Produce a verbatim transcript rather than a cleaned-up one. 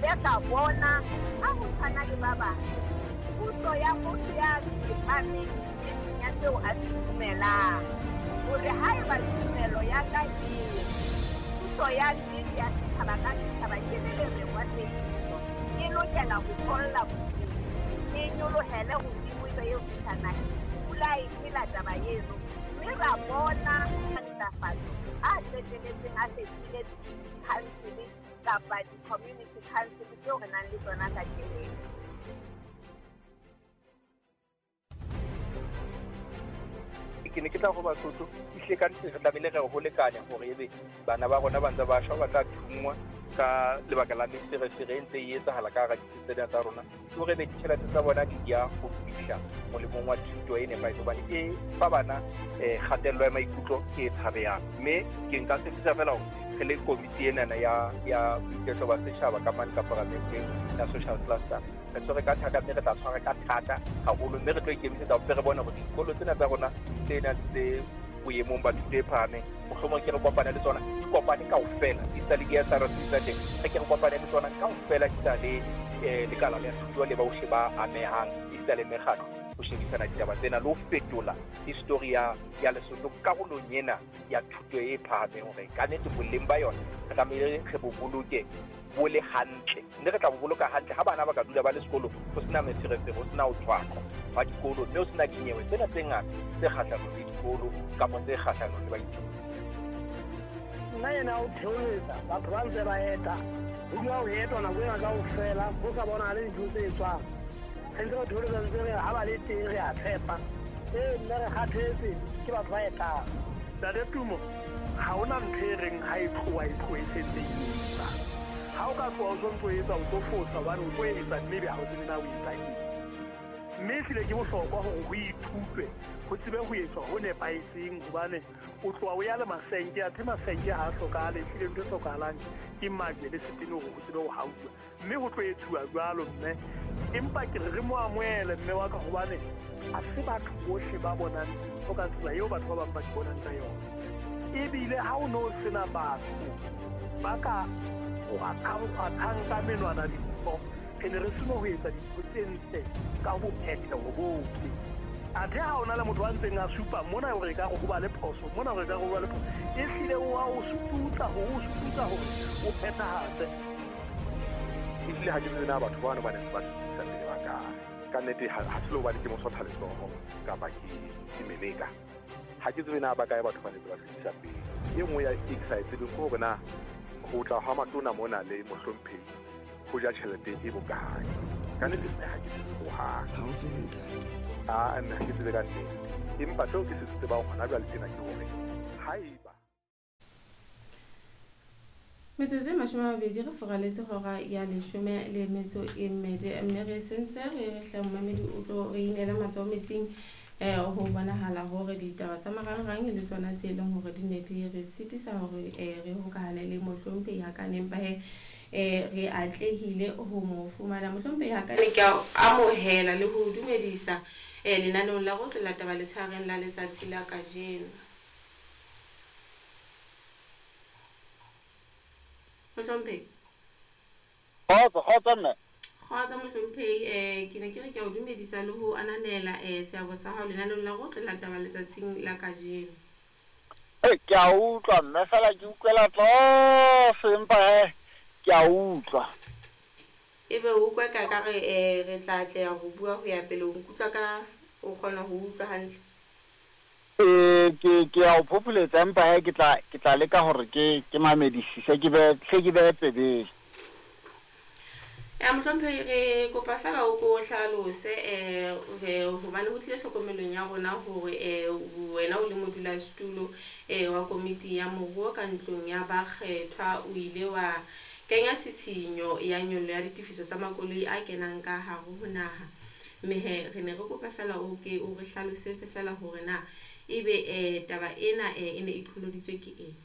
ile ka bona ha ho tshwana le ba bang puso ya motho ya tsepameng ya seo a se dumelang hore haeba tumelo ya ka e puso ya nnete ya setjhaba ka setjhaba ke le lereng wa tsebiso e lokela ho tholla e nyolohele hodimo e be eo fihla naheng. Pula e phela taba eno mme ra bona ntlafatso a qetelletseng a fetile council kapa di-community council tseo re nang le tsona kajeno. Ke ne ke tla go Basotho ehlile ka nnete re tlamehile re ho lekanya hore ebe bana ba rona ba ntse ba shwa ba tla thungwa ka lebaka la meferefere e ntse e etsahala ka hara ditsi tsena tsa rona, ke hore ebe ditjhelete tsa bona di ya ho fihla molemong wa thuto e nepahetseng hobane e fa bana um kgatello ya maikutlo e tshabehang. Mme ke nka tshepisa fela hore re le komiti enana ya ya boiketlo ba setjhaba ka mane ka paramenteng ya social cluster re tshwere ka thata mme re tla tshwara ka thata haholo mme re tlo ikemisetsa ho re bone hore dikolo tsena tsa rona tse nang tse boemong ba thuto e phahameng mohlomong ke re kopane le tsona di kopane kaofela di sa le di-S R C tsa teng re ke re kopane le tsona kaofela di sa le um lekala la thuto le bohle ba amehang esita le mekgatlo ho shebisana ditaba tsena le ho fetola history ya ya Lesotho karolong ena ya thuto e phahameng hore ka nnete boleng ba yona re tlamehile re bo boloke bo le hantle mme re tla bo boloka hantle ha bana ba ka dula ba le sekolo ho sena meferefere ho sena ho tshwaqwa wa dikolo mme ho sena dinyewe tsena tse ngata tse kgahlanong le dikolo kapa tse kgahlanong le baithuti. Nna ena o theoletsa batho ba ntse ba eta ho dula ho etwa nako ena kaofela ho sa bonahale dintho tse etswang. Re ntse re theoletsa ntse re ha ba le teng re a tshepa ee nna re kgathetse ke batho ba etang. Ntate Tumo ha hona ntho e reng ha e tloha e tlohe e sentse e etsa. Ha o ka tloha o sontso o etsa o tlo fosa hobane o tlo etsa mme ebe ha o tsebe na o etsa eng. Mme ehlile ke bohlokwa hore ho ithutwe ho tsebe ho etswa ho nepahetseng hobane o tloha o ya le masenke athe masenke ha a hlokahale ehlile ntho e hlokahalang ke majwe le setene hore ho tsebe ho hauwa mme ho tlo etsuwa jwalo mme empa ke re re mo amohele mme wa ka hobane ha se batho bohle ba bonang dintho ka tsela eo batho ba bang ba di bonang ka yona. Ebile ha o no sena batho ba ka kgwathang ka menwana dintho re ne re seno ho etsa dintho tse ntle ka ho phetheho bohle. Athe ha ona le motho a ntseng a supa mona hore ekare ho ba le phoso mona hore ekare ho ba le phoso ehlile o a o sututsa hore o sututsa hore o phethahatse. Ehlile ha ke tsebe na batho bano ba neng ba sutusa pele ba kae ka nnete ha se le hobane ke mosotha letsoho kapa ke ke meleka ha ke tsebe na ba kae batho ba neng ba sutusa pele. E nngwe ya e ke sa e tsebeng ke hore na ho tla ha matona mona le mohlomphehi ho ja tjhelete e bokae ka nnete nna ha ke tsebe hohang. Ha o tsebe ntate? Ah, nna ha ke tsebe ka nnete empa seo ke se tsebang hona jwale tjena ke hore haeba Metsotso e mashome a mabedi re furaletse hora ya leshome le metso e mmedi mme re sentse re re hle momamedi o tlo re inela matsoho metsing um ho bonahala hore ditaba tsa marangrang le tsona tse leng hore di ne di re sitisa hore um re hokahane le mohlomphehi Hakane empa he um re atlehile ho mo fumana. Mohlomphehi Hakane ke a amohela le ho dumedisa um lenaneong la Rotlo la Taba Letshareng la letsatsi la kajeno. Mohlomphehi. Kgotso, kgotso mme. Kgotso mohlomphehi, eh ke ne ke re ke a o dumedisa le ho ananela eh seabo sa hao lenaneong la Rotlo la Taba letsatsing la kajeno. Ee, ke a utlwa mme fela ke utlwela tlase empa he ke a utlwa. Ebe o utlwa ka ka re eh re tla atleha ho bua ho ya pele o nkutlwa ka o kgona ho utlwa hantle. Ee, ke ke a o phopholetsa empa he ke tla ke tla leka hore ke ke mamedisise ke be hle ke be tsebeng. Ya mohlomphehi re kopa fela o ko hlalose eh hobane ho tlile hlokomelong ya rona hore eh wena o le modulasetulo eh wa komiti ya moruo ka ntlong ya bakgethwa o ile wa kenya tshitshinyo ya nyollo ya ditefiso tsa makoloi a kenang ka hare ho naha. Mme he re ne re kopa fela o ke o re hlalosetse fela hore na ebe eh taba ena eh e ne e qholoditswe ke eng.